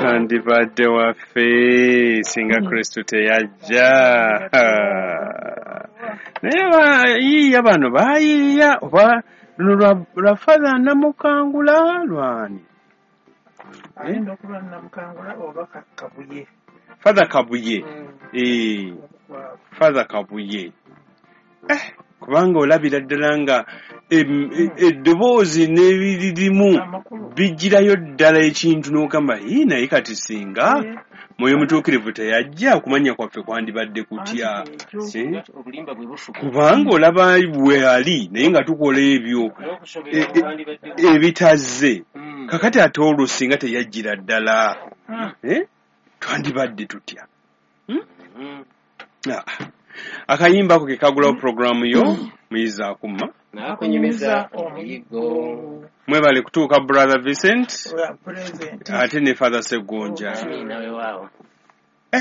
Twandibadde waffe singa Kristo teyajja. Naye bayiiya bano bayiiya oba luno lwa Father Namukangula lwani? Ayinza okuba Namukangula oba Kabuye. Father Kabuye. Father Kabuye. Kubanga olabira ddala nga eddoboozi n'ebiririmu bijjirayo ddala ekintu n'ogamba naye kati singa Mwoyo Mutuukirivu teyajja okumanya kwaffe kwandibadde kutya. Kubanga olaba bwe ali naye nga tukola ebyo ebitazze. Kakati ate olwo singa teyajjira ddala twandibadde tutya. Akayimba ako ke kagulawo pulogulaamu yo Muyizi Akumma n'akunyumiza omuyiggo. Mwebale kutuuka Brother Vincent ate ne Father Segonja.